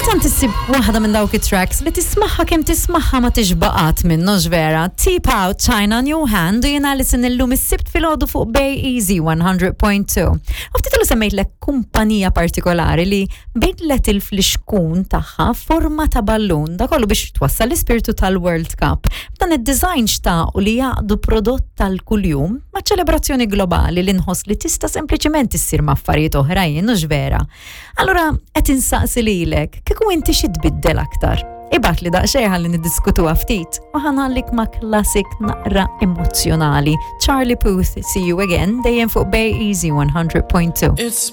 Kultant issib waħda minn dawk it-tracks li tismaħħa kemm tismaħħa ma tixbaqat minnu vera. Tip out China on your hand u jena li sin illum is-sibt filgħodu fuq Bay Easy 100.2. U ftit ilu semmejtlek kumpanija partikolari li bidlet il-flixkun tagħha forma ta' ballun da kollu biex twassal l-ispirtu tal-World Cup. B'dan id-design xtaqu li jaqdu prodott tal-kuljum ma' ċelebrazzjoni globali li nħoss li tista' sempliċement issir ma' affarijiet oħrajn u vera. Allura qed insaqsi lilek, kieku inti xi tbiddel aktar? Ibgħat li daqsxejn ħalli niddiskutuha ftit u ħanallik ma' classic naqra emozzjonali. Charlie Puth, See You Again, dejjem fuq Bay Easy 100.2. It's